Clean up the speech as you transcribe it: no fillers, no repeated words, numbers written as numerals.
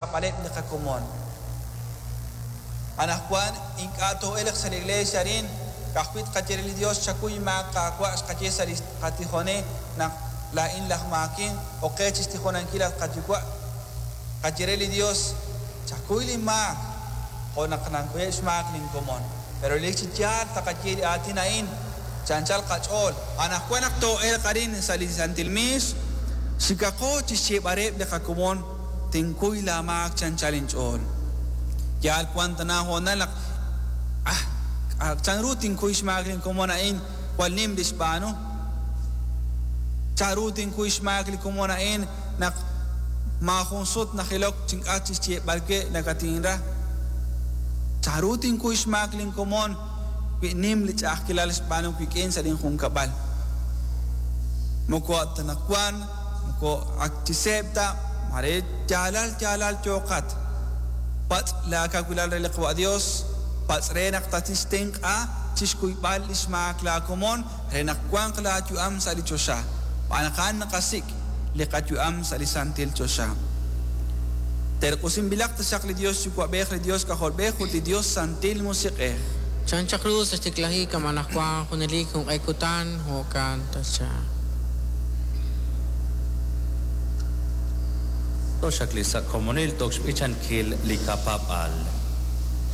Xraab'aleb' li qakomon. Anaqwan ink'a' too'elq sa' li iglees arin, ka'ajwi' tqaye re li Dios, Chakuy inmaak, Qaawa', xqaye sa' li qatijone naq laa'in laj maakin, ok qe chixtijonankil at qaYuwa'. Tqaye re li Dios, Chakuy lin maak, jo' naq nankuyeb' xmaak lin komon. Pero relik chi yaal taqaye li aatin a'in chi anchal qach'ool. Anaqwan naq too'elq arin sa' li santil miix, xikaqo chixyeeb'al reheb' li qakomon, Tinkuy laa maak chi anchal inch'ool. Yaal wan tana hoonal naq ah, chan ru tinkuy xmaak lin komon a'in jwal nim li xb'aanu? Chan ru tinkuy xmaak li komon a'in naq maajun sut najilok chink'atq chixyeeb'al we nakatinra? Chan ru tinkuy xmaak lin komon wi nim li ch'a'ajkilal xb'aanu wik'in sa' lin junkab'al? Moko anaqwan Moko ak chi seeb' ta, maare yaalal yaalal yooqat. Patz' laakawilal re li Qwa' Yos, patz' re naq tatixtenq'a chi xkuyb'al li xmaak laakomon re naq wanq laayu'am sa' li choxa, xb'aan naq a'an naqasik', li qayu'am sa' li santil choxa. Terq'usinb'ilaq taxaq li Yos Yuwa'b'ej, li Yos K'ajolb'ej ut li Yos Santil Musiq'ej. Chan chaq ru sa' xtiklajik kama' anaqwan junelik junq'e kutan, jo'kan taxaq. Tooxaqli sa' komonil toq xb'ichankil li qapaab'aal.